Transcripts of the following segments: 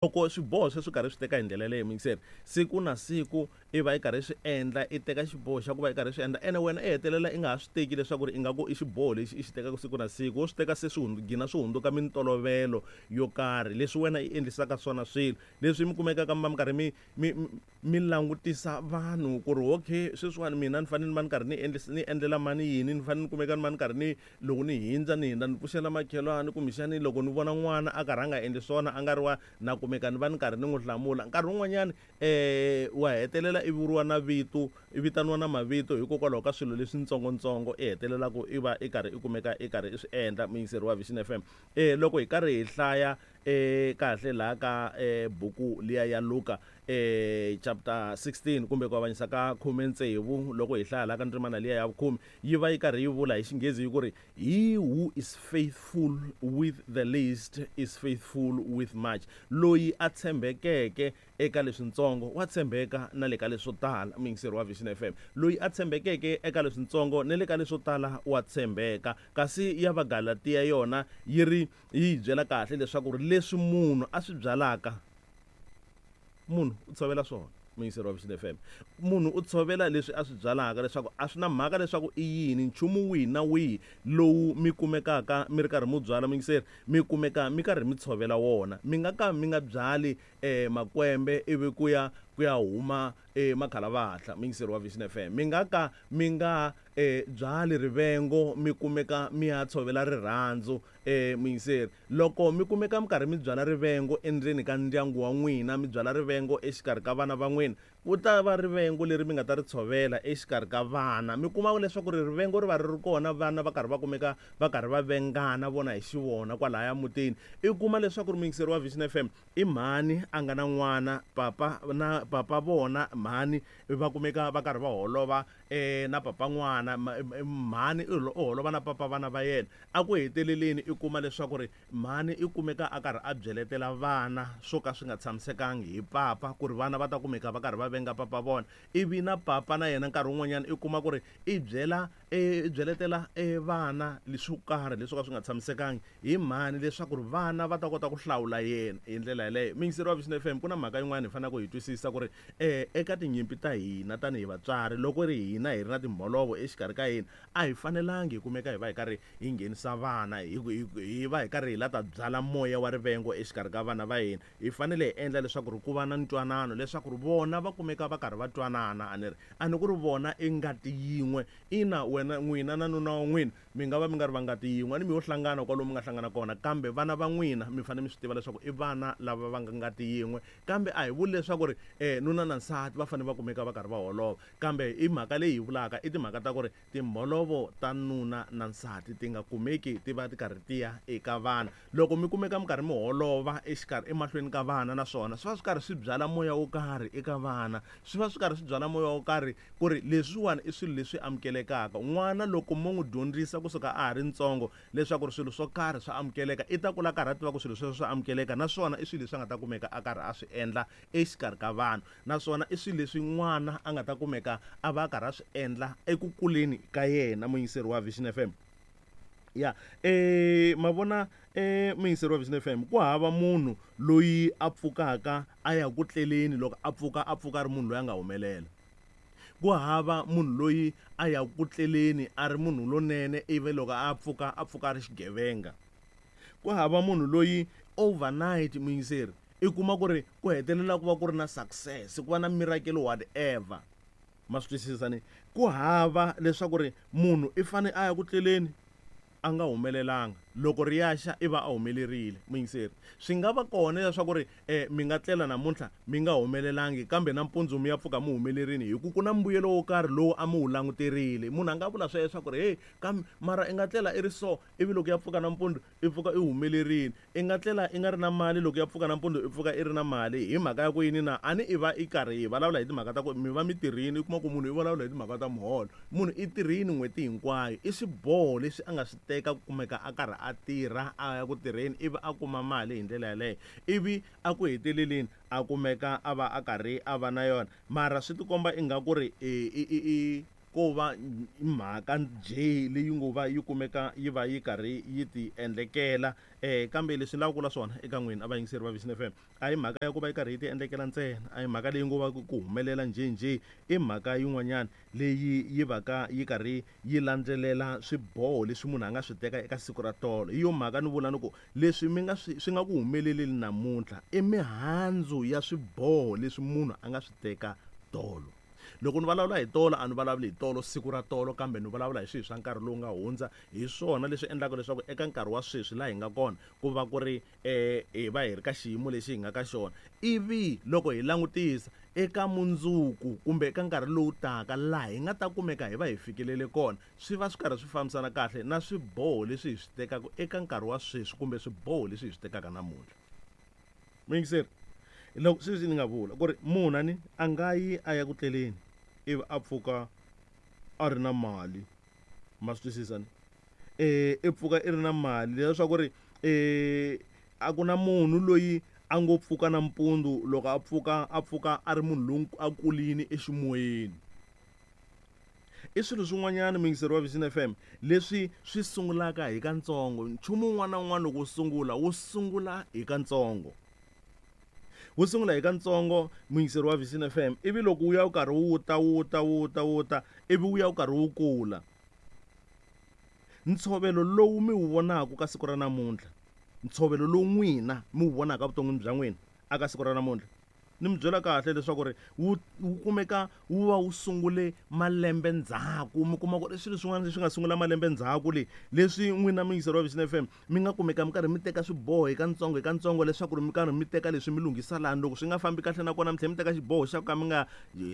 Loko swiboho sweswo karhi swi teka hi ndlela yaleyo muyingiseri siku na siku i va i karhi swi endla i teka xiboho xa ku va i karhi swi endla ene wena i hetelela i nga ha swi teki leswaku ri ingaku i xiboho lexi i xi tekaka siku na siku wo swi teka se swi gina swi hundzuka mintolovelo yo karhi leswi wena i endlisaka swona swilo leswi mi kumekaka mi va mi karhi mi langutisa vanhu ku ri okay sweswiwani mina ni fanele ni va ni karhi ni ni endlela mani yini ni fanele ni kumeka ni va ni karhi ni loko ni hindza ni hindza ni pfuxela makhelwani kumbexani loko ni vona n'wana a karhi a nga endli swona a nga ri wa na kumeka ni va ni karhi ni n'wi hlamula nkarhi wun'wanyani wa hetelela i vuriwa na vito i vitaniwa na mavito hikokwalaho ka swilo leswintsongontsongo i hetelelaka i va i karhi i kumeka i karhi i swi endla muyingiseri wa Vision F_M loko hi karhi hi hlaya kahle laha ka buku liya ya Luka chapter 16 kumbe ku avanyisa ka 16 loko hi hlaya laha ka ndzimana liya ya vukhume yi va yi karhi yi vula hi Xinghezi yi ku ri he who is faithful with the least is faithful with much loyi a tshembekeke eka leswintsongo wa tshembeka na le ka leswo tala muyingiseri wa Vision F_M loyi a tshembekeke eka leswintsongo na le ka leswo tala wa tshembeka kasi ya Vagalatiya yona yi ri yi hi byela kahle leswaku ri leswi munhu a swi byalaka munhu u tshovela swona muyingiseri wa Vision F_M munhu u tshovela leswi a swi byalaka leswaku a swi na mhaka leswaku i yini nchumu wihi na wihi lowu mi kumekaka mi ri karhi mu byala muyingiseri mi kumeka mi karhi mi tshovela wona mi nga ka mi nga byali makwembe ivi ku ya ku ya huma makhalavatla muyingiseri wa Vision F_M mi nga ka mi nga byali rivengo mi kumeka mi ya tshovela rirhandzu muyingiseri loko mi kumeka mi karhi mi byala rivengo endzeni ka ndyangu wa n'wina mi byala rivengo exikarhi ka vana va n'wina ku ta va rivengo leri mi nga ta ri tshovela exikarhi ka vana mi kuma leswaku ri rivengo ri va ri ri kona vana va karhi va kumeka va karhi va vengana vona hi xivona kwalaya mutini i kuma leswaku ri muyingiseri wa Vision F_M i mhani a nga na n'wana papa na papa vona mhani va kumeka va karhi va holova na papa n'wana mhani u holova na papa vana va yena a ku heteleleni i kuma leswaku ri mhani i kumeka a karhi a byeletela vana swo ka swi nga tshamisekangi hi papa ku ri vana va ta kumeka va karhi va venga papa vona ivi na papa na yena nkarhi wun'wanyana i kuma ku ri i byela i byeletela vana leswo karhi leswo ka swi nga tshamisekangi hi mhani leswaku ri vana va ta kota ku hlawula yena hi ndlela yaleyo muyingiseri wa Vision F_M ku na mhaka yin'wana hi faneleke hi twisisa ku ri eka tinyimpi ta hina tanihi vatswari loko ri hina hi ri na timholovo exikarhi ka hina a hi fanelangi hi kumeka hi va hi karhi hi nghenisa vana hi hi va hi karhi hi la ta byala moya wa rivengo exikarhi ka vana va hina hi fanele hi endla leswaku ri ku va na ntwanano leswaku ri vona va kumeka va karhi va twanana a ni ri a ni ku ri vona i ngati yin'we ina wena n'wina na nuna wa n'wina mi nga va mi nga ri va ngati yin'we a ni mi yo hlangana kwalomu mi nga hlangana kona kambe vana va n'wina mi fanele mi swi tiva leswaku i vana lava va nga ngati yin'we kambe a hi vuli leswaku ri nuna na nsati va fanele va kumeka va karhi va holova kambe i mhaka leyi hi vulaka i timhaka ta ku ri timholovo ta nuna na nsati ti nga kumeki ti va ti karhi ti ya eka vana loko mi kumeka mi karhi mi holova exikarhi emahlweni ka vana naswona swi va swi karhi swi byala moya wo karhi eka vana swi va swi karhi swi byala moya wo karhi ku ri leswiwani i swilo leswi amukelekaka n'wana loko mo n'wi dyondzisa kusuka a ha ri ntsongo leswaku ri swilo swo karhi swa amukeleka i ta kula karhi a tiva ku swilo sweswo swa amukeleka naswona i swilo leswi a nga ta kumeka a karhi a swi endla exikarhi ka vanhu naswona i swilo leswi n'wana a nga ta kumeka a va a karhi a swi endla eku kuleni ka yena muyingiseri wa Vision F_M ya ma vona muyingiseri wa Vision F_M ku hava munhu loyi a pfukaka a ya ku tleleni loko a pfuka a pfuka a ri munhu loyi a nga humelela ku hava munhu loyi a ya ku tleleni a ri munhu lonene ivi loko a pfuka a pfuka a ri xigevenga ku hava munhu loyi overnight muyingiseri i kuma ku ri ku hetelela ku va ku ri na success ku va na miracle whatever ma swi twisisa ni ku hava leswaku ri munhu i fane a ya ku tleleni a nga humelelanga loko ri ya xa i va a humelerile muyingiseri swi nga va kona leswaku ri mi nga tlela namuntlha mi nga humelelangi kambe nampundzu mi ya pfuka mi humelerile hi ku ku na mbuyelo wo karhi lowu a mi wu languterile munhu a nga vula sweswo ku ri hey kambe mara i nga tlela i ri so ivi loko ya pfuka nampundzu i pfuka i humelerile i nga tlela i nga ri na mali loko ya pfuka nampundzu i pfuka i ri na mali hi mhaka ya ku yini na a ni i va i karhi hi vulavula hi timhaka ta ku mi va mi tirhini i kuma ku munhu i vulavula hi timhaka ta muholo munhu i tirhini n'hweti hinkwayo i swiboho leswi a nga swi teka ku kumeka a karhi a tirha a ya ku tirheni ivi a kuma mali hi ndlela yaleyo ivi a ku heteleleni a kumeka a va a karhi a va na yona mara swi tikomba ingaku ri i i i i. ko va mhaka njhe leyi ngo va yi kumeka yi va yi karhi yi ti endlekela. Kambe leswi ni lavaka ku vula swona eka n'wina a vayingiseri va Vision FM, a hi mhaka ya ku va yi karhi yi ti endlekela ntsena, a hi mhaka leyi ngo va ku humelela njhenjhe, i mhaka yin'wanyana leyi yi va ka yi karhi yi landzelela swiboho leswi munhu a nga swi teka eka siku ra tolo. Hi yo mhaka ni vula ni ku leswi mi nga swi swi nga ku humeleleni namuntlha i mihandzu ya swiboho leswi munhu a nga swi teka tolo. Loko ni vulavula hi tolo a ni vulavuli hi tolo siku ra tolo, kambe ni vulavula hi swilo swa nkarhi lowu nga hundza. Hi swona leswi endlaka leswaku eka nkarhi wa sweswi laha hi nga kona ku va ku ri hi va hi ri ka xiyimo lexi hi nga ka xona. Ivi loko hi langutisa eka mundzuku kumbe eka nkarhi lowu taka laha hi nga ta kumeka hi va hi fikelele kona, swi va swi karhi swi fambisana kahle na swiboho leswi hi swi tekaka eka nkarhi wa sweswi kumbe swiboho leswi hi swi tekaka namuntlha. Muyingiseri, loko sweswi ni nga vula ku ri munhu a ni a nga yi a ya ku tleleni ivi a pfuka a ri na mali, ma swi twisisa ni? I pfuka i ri na mali leswaku ri a ku na munhu loyi a ngo pfuka nampundzu loko a pfuka a pfuka a ri munhu loyi a kulini eximoyeni. I swilo swin'wanyana muyingiseri wa Vision FM leswi swi sungulaka hi katsongo. Nchumu wun'wana na wun'wana loko wu sungula wu sungula hi katsongo, wu sungula hi katsongo muyingiseri wa Vision FM, ivi loko wu ya wu karhi wu ta wu ta wu ta wu ta ivi wu ya wu karhi wu kula. Ntshovelo lowu mi wu vonaka ka siku ra namuntlha, ntshovelo lowu n'wina mi wu vonaka evuton'wini bya n'wina aka siku ra namuntlha, ni mi byela kahle leswaku ri wu wu kumeka wu va wu sungule malembe ndzhaku. Mi kuma ku ri swilo swin'wana leswi nga sungula malembe ndzhaku le leswi n'wina muyingiseri wa Vision FM mi nga kumeka mi karhi mi teka swiboho hi katsongo hi katsongo leswaku ri mi karhi mi teka leswi mi lunghisa lani, loko swi nga fambi kahle nakona mi tlhela mi teka xiboho xa ku ka mi nga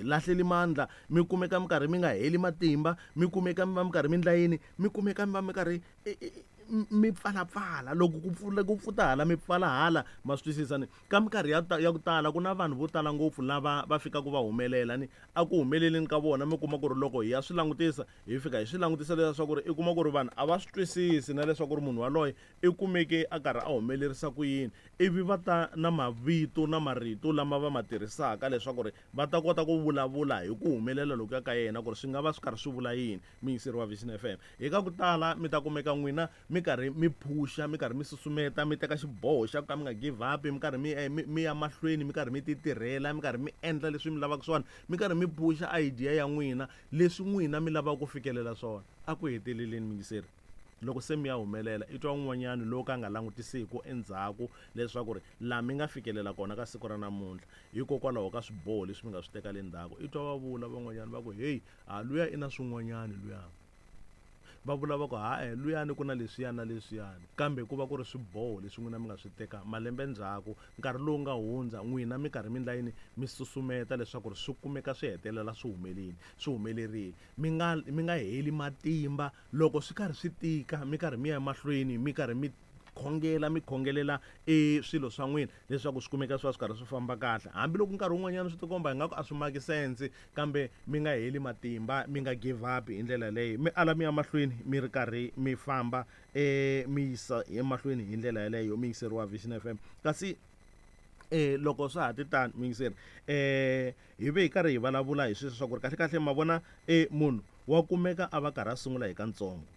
lahleli mandla, mi kumeka mi karhi mi nga heli matimba, mi kumeka mi va mi karhi mi endla yini, mi kumeka mi va mi karhi mi pfalapfala loko ku pfula ku pfuta hala mi pfala hala, ma swi twisisa ni? Ka minkarhi ya ya ku tala ku na vanhu vo tala ngopfu lava va fikaka va humelela ni a ku humeleleni ka vona mi kuma ku ri loko hi ya swi langutisa hi fika hi swi langutisa leswaku ri i kuma ku ri vanhu a va swi twisisi na leswaku ri munhu waloye i kumeke a karhi a humelerisa ku yini, ivi va ta na mavito na marito lama va ma tirhisaka leswaku ri va ta kota ku vulavula hi ku humelela lokuya ka yena ku ri swi nga va swi karhi swi vula yini. Muyingiseri wa Vision FM, hi ka ku tala mi ta kumeka n'wina mi karhi mi phusha, mi karhi mi susumeta, mi teka xiboho xa ku ka mi nga give up, mi karhi mi ya mahlweni, mi karhi mi ti tirhela, mi karhi mi endla leswi mi lavaka swona, mi karhi mi phusha idea ya n'wina, leswi n'wina mi lavaka ku fikelela swona. A ku heteleleni muyingiseri, loko se mi ya humelela, i twa un'wanyana lowu ka nga langutisiku endzhaku leswaku ri laha mi nga fikelela kona ka siku ra namuntlha hikokwalaho ka swiboho leswi mi nga swi teka le ndzhaku. I twa va vula van'wanyana va ku heyi, ha luya i na swin'wanyana luya, va vula va ku ha-e luyani ku na leswiyani na leswiyani, kambe ku va ku ri swiboho leswi n'wina mi nga swi teka malembe ndzhaku, nkarhi lowu nga hundza, n'wina mi karhi mi endla yini, mi susumeta leswaku ri swi kumeka swi hetelela swi humeleli, swi humelerile. Mi nga mi nga heli matimba loko swi karhi swi tika, mi karhi mi ya emahlweni, mi karhi mi khongela, mi khongelela e swilo swa n'wina leswaku swi kumeka swi va swi karhi swi famba kahle. Hambiloko nkarhi wun'wanyana swi tikomba ingaku a swi maki sense, kambe mi nga heli matimba, mi nga give up hi ndlela yaleyo, mi ala mi ya mahlweni mi ri karhi mi famba mi yisa emahlweni hi ndlela yaleyo muyingiseri wa Vision FM. Kasi loko swa ha ti tano muyingiseri, hi ve hi karhi hi vulavula hi sweswo swa ku ri kahle kahle ma vona munhu wa kumeka a va karhi a sungula hi katsongo,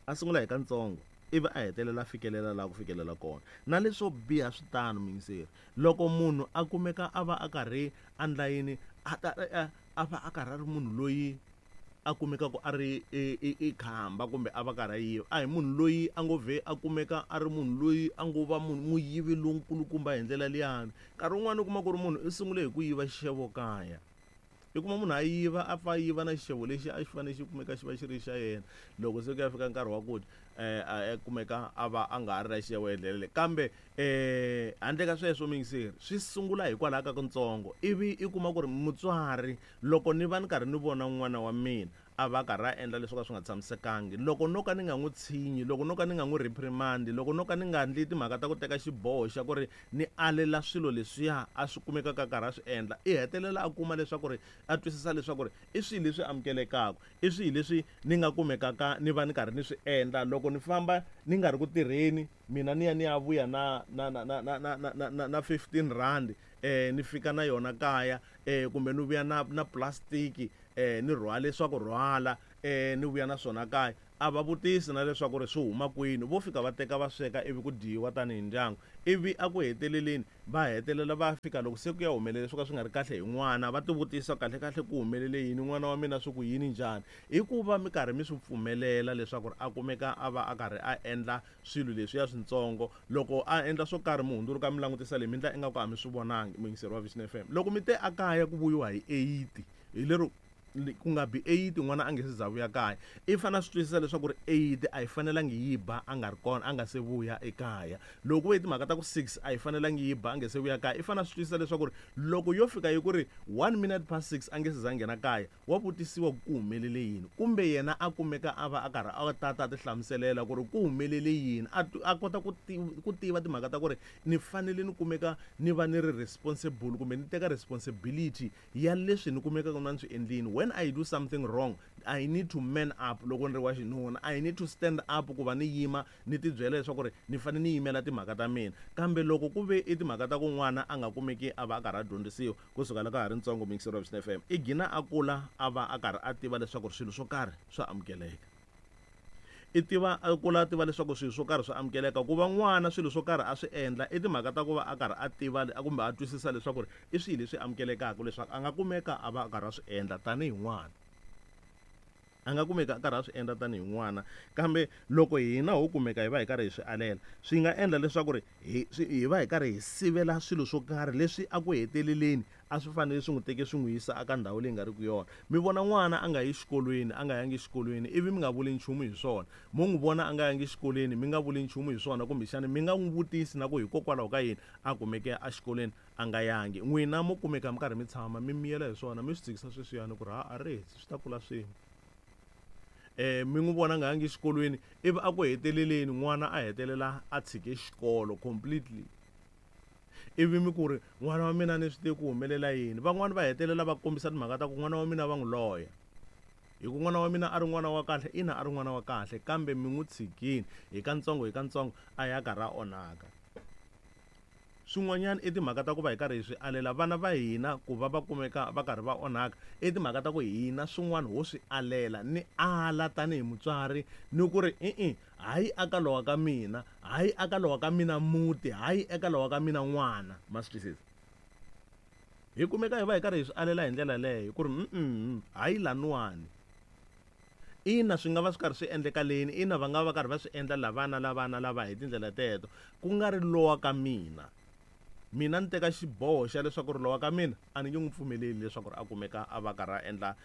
a sungula hi katsongo ivi a hetelela a fikelela laha ku fikelela kona. Na leswo biha swi tano muyingiseri, loko munhu a kumeka a va a karhi a endla yini, a ta a va a karhi a ri munhu loyi a kumekaka a ri i khamba kumbe a va karhi a yiva, a hi munhu loyi a ngo vhe a kumeka a ri munhu loyi a ngo va munhu muyivi lonkulukumba hi ndlela liyani. Nkarhi wun'wani u kuma ku ri munhu i sungule hi ku yiva xixevo kaya, i kuma munhu a yiva a pfa a yiva na xixevo lexi a xi fanele xi kumeka xi va xi ri xa yena, loko se ku ya fika nkarhi wa ku dya a kumeka a va a nga ha ri na xixevo hi ndlela leyi. Kambe handle ka sweswo muyingiseri, swi sungula hikwalaho ka kutsongo, ivi i kuma ku ri mutswari loko ni va ni karhi ni vona n'wana wa mina a va karhi a endla leswo ka swi nga tshamisekangi, loko no ka ni nga n'wi tshinyi, loko no ka ni nga n'wi reprimand, loko no ka ni nga endli timhaka ta ku teka xiboho xa ku ri ni alela swilo leswiya a swi kumekaka a karhi a swi endla, i hetelela a kuma leswaku ri a twisisa leswaku ri i swihi leswi amukelekaka, i swihi leswi ni nga kumekaka ni va ni karhi ni swi endla. Loko ni famba ni nga ri ku tirheni, mina ni ya ni ya vuya na na na na na na na na na na 15 rand ni fika na yona kaya, kumbe ni vuya na na plastic ni rhwale swa ku rhwala ni vuya na swona kaya. A va vutisi na leswaku ri swi huma kwini, vo fika va teka va sweka ivi ku dyiwa tanihi ndyangu. Ivi a ku heteleleni va hetelela va fika loko se ku ya humelele swo ka swi nga ri kahle hi n'wana, va tivutisa kahlekahle ku humelele yini, n'wana wa mina swi ku yini njhani. I ku va mi karhi mi swi pfumelela leswaku ri a kumeka a va a karhi a endla swilo leswiya swintsongo. Loko a endla swo karhi mi hundzuluka mi langutisa leyi mi endla ingaku a mi swi vonangi, muyingiseri wa Vision FM. Loko mi te a kaya ku vuyiwa hi 8 hi lero ku nga bi 8 n'wana a nge se za vuya kaya, i fanele a swi twisisa leswaku ri 8 a yi fanelangi yi ba a nga ri kona, a nga se vuya ekaya. Loko ku ve timhaka ta ku 6 a yi fanelangi yi ba a nge se vuya kaya, i fanele a swi twisisa leswaku ri loko yo fika yi ku ri 1 minute past 6 a nge se za nghena kaya, wa vutisiwa ku humelele yini, kumbe yena a kumeka a va a karhi a tata a ti hlamuselela ku ri ku humelele yini, a kota ku tiva timhaka ta ku ri ni fanele ni kumeka ni va ni ri responsible kumbe ni teka responsibility ya leswi ni kumekaka na ni swi endlini. When I do something wrong, I need to man up. Loko ni ri wa xinuna, I need to stand up ku va ni yima ni tibyela leswaku ri ni fanele ni yimela timhaka ta mina. Kambe loko ku ve i timhaka ta ku n'wana a nga kumeki a va a karhi a dyondzisiwa kusuka loko a ha ri ntsongo, muyingiseri wa Vision FM, i gina a kula a va a karhi a tiva leswaku swilo swo karhi swa amukeleka. I tiva a kula a tiva leswaku swilo swo karhi swa amukeleka. Ku va n'wana swilo swo karhi a swi endla i timhaka ta ku va a karhi a tiva kumbe a twisisa leswaku ri i swihi leswi amukelekaka leswaku a nga kumeka a va a karhi a swi endla tanihi n'wana. A nga kumeka a karhi a swi endla tanihi n'wana. Kambe loko hina ho kumeka hi va hi karhi hi swi alela, swi nga endla leswaku ri hi va hi karhi hi sivela swilo swo karhi leswi a ku heteleleni a swi fanele swi n'wi teke swi n'wi yisa eka ndhawu leyi nga riki yona. Mi vona n'wana a nga yi xikolweni, a nga yangi xikolweni, ivi mi nga vuli nchumu hi swona. Mo n'wi vona a nga yangi xikolweni, mi nga vuli nchumu hi swona, kumbexana mi nga n'wi vutisi na ku hikokwalaho ka yini a kumeke exikolweni a nga yangi. N'wina mo kumeka mi karhi mi tshama mi miyela hi swona, mi swi tshikisa sweswiyani ku ri ha a ri swi ta kula swin'we. Mi n'wi vona a nga yangi xikolweni, ivi a ku heteleleni n'wana a hetelela a tshike xikolo completely. Ivi mi ku ri n'wana wa mina ni swi tivi ku humelela yini. Van'wani va hetelela va kombisa timhaka ta ku n'wana wa mina va n'wi loya, hi ku n'wana wa mina a ri n'wana wa kahle. Ina, a ri n'wana wa kahle, kambe mi n'wi tshikini hi katsongo hi katsongo a ya karhi a onhaka. Swin'wanyana i timhaka ta ku va hi karhi hi swi alela vana va hina ku va va kumeka va karhi va onhaka, i timhaka ta ku hina swin'wana ho swi alela. Ni ala tanihi mutswari ni ku ri i-i, hayi aka lowa ka mina, hayi aka lowa ka mina muti, hayi eka lowa ka mina n'wana. Ma swi twisisa? Hi kumeka hi va hi karhi hi swi alela hi ndlela leyo ku ri hayi laniwani. Ina, swi nga va swi karhi swi endleka leni, ina, va nga va karhi va swi endla lavana lavana lava hi tindlela teto, ku nga ri lowa ka mina. Mina ni teka xiboho xa leswaku ri lowa ka mina a ni nge n'wi pfumeleli leswaku ri a kumeka a va karhi a endla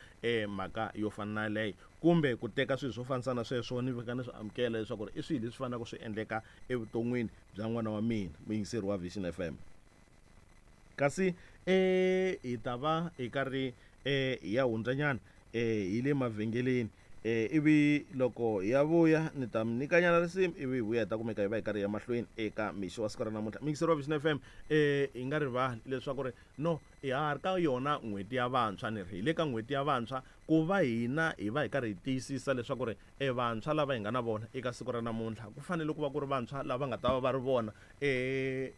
mhaka yo fana na yaleyo, kumbe ku teka swilo swo fanisa na sweswo ni fika ni swi amukela leswaku ri i swilo leswi faneleke swi endleka evuton'wini bya n'wana wa mina, muyingiseri wa Vision FM. Kasi hi ta va hi karhi hi ya hundzanyana hi le mavhengeleni, ivi loko hi ya vuya ni ta mi nyikanyana risimu, ivi hi vuya hi ta kumeka hi va hi karhi hi ya mahlweni eka mixo wa siku ra namuntlha. Muyingiseri wa Vision FM, hi nga rivali leswaku ri no ha ha ri ka yona n'hweti ya vantshwa, ni ri hi le ka n'hweti ya vantshwa ku va hina hi va hi karhi hi tiyisisa leswaku ri vantshwa lava hi nga na vona eka siku ra namuntlha ku fanele ku va ku ri vantshwa lava nga ta va va ri vona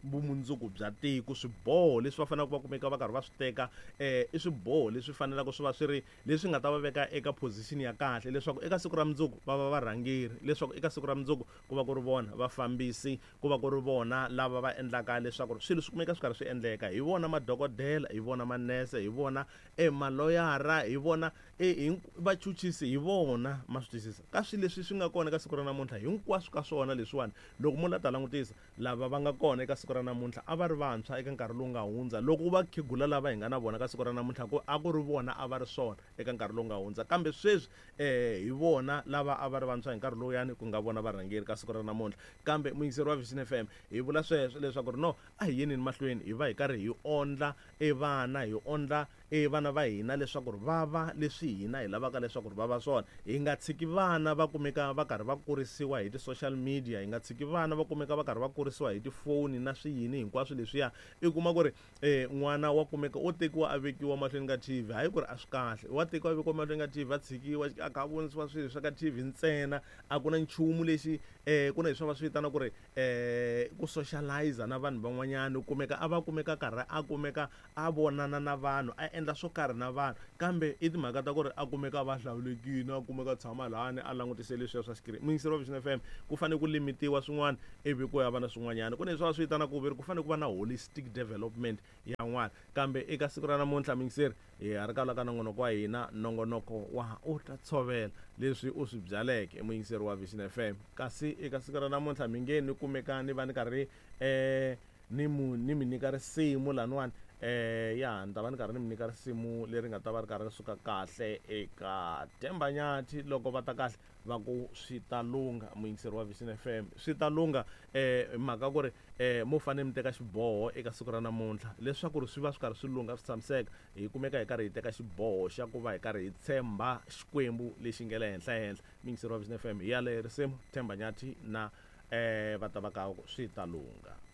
vumundzuku bya tiko. Swiboho leswi va faneleke va kumeka va karhi va swi teka i swiboho leswi faneleke swi va swi ri leswi nga ta va veka eka position ya kahle leswaku eka siku ra mundzuku va va varhangeri, leswaku eka siku ra mundzuku ku va ku ri vona vafambisi, ku va ku ri vona lava va endlaka leswaku swilo swi kumeka swi karhi swi endleka. Hi vona madokodela, hi vona manese, hi vona maloyara, hi vona vachuchisi, hi vona. Ma swi twisisa ka swilo leswi swi nga kona eka siku ra namuntlha, hinkwaswo ka swona leswiwani loko mo la ta langutisa lava va nga kona eka siku ra namuntlha a va ri vantshwa eka nkarhi lowu nga hundza. Loko va khegula lava hi nga na vona ka siku ra namuntlha ku a ku ri vona a va ri swona eka nkarhi lowu nga hundza, kambe sweswi hi vona lava a va ri vantshwa hi nkarhi lowuyani ku nga vona varhangeri ka siku ra namuntlha. Kambe muyingiseri wa Vision FM, hi vula sweswo leswaku ri no a hi yeneni mahlweni hi va hi karhi hi ondla vana, hi ondla vana va hina leswaku ri va va leswi hina hi lavaka leswaku ri va va swona. Hi nga tshiki vana va kumeka va karhi va kurisiwa hi ti-social media, hi nga tshiki vana va kumeka va karhi va kurisiwa hi tifoni na swiyini hinkwaswo leswiya. I kuma ku ri n'wana wa kumeka o tekiwa a vekiwa mahlweni ka TV, hayi ku ri a swi kahle, wa tekiwa a vekiwa mahlweni ka TV a tshikiwa a kha a vonisiwa swilo swa ka TV ntsena, a ku na nchumu lexi ku na leswi va swi vitana ku ri ku socialize na vanhu van'wanyana. U kumeka a va kumeka karhi a kumeka a vonana na vanhu, a endla swo karhi na vanhu, kambe i timhaka ta ku ri a kumeka va hlawulekile, a kumeka a tshama lahani a langutise leswiya swa xikirini. Muyingiseri wa Vision FM, ku fanele ku limitiwa swin'wana ivi ku ya va na swin'wanyana. Ku na leswi va swi vitanaka ku ve ri ku fanele ku va na holistic development ya n'wana. Kambe eka siku ra namuntlha, muyingiseri, hi ha ri ka la ka nongonoko wa hina, nongonoko wa u ta tshovela leswi u swi byaleke, muyingiseri wa Vision FM. Kasi eka siku ra namuntlha mi nge ni kumeka ni va ni karhi ni mu ni mi nyika risimu laniwani, ya ni ta va ni karhi ni mi nyika risimu leri nga ta va ri karhi ri suka kahle eka Themba Nyathi. Loko va ta kahle va ku swi ta lungha, muyingiseri wa Vision FM, swi ta lungha hi mhaka ku ri mo fanele mi teka xiboho eka siku ra namuntlha leswaku ri swi va swi karhi swi lungha, swi tshamiseka. Hi kumeka hi karhi hi teka xiboho xa ku va hi karhi hi tshemba Xikwembu lexi nga le henhla henhla. Muyingiseri wa Vision FM, hi yaleyo risimu Themba Nyathi na va ta va ka swi ta lungha.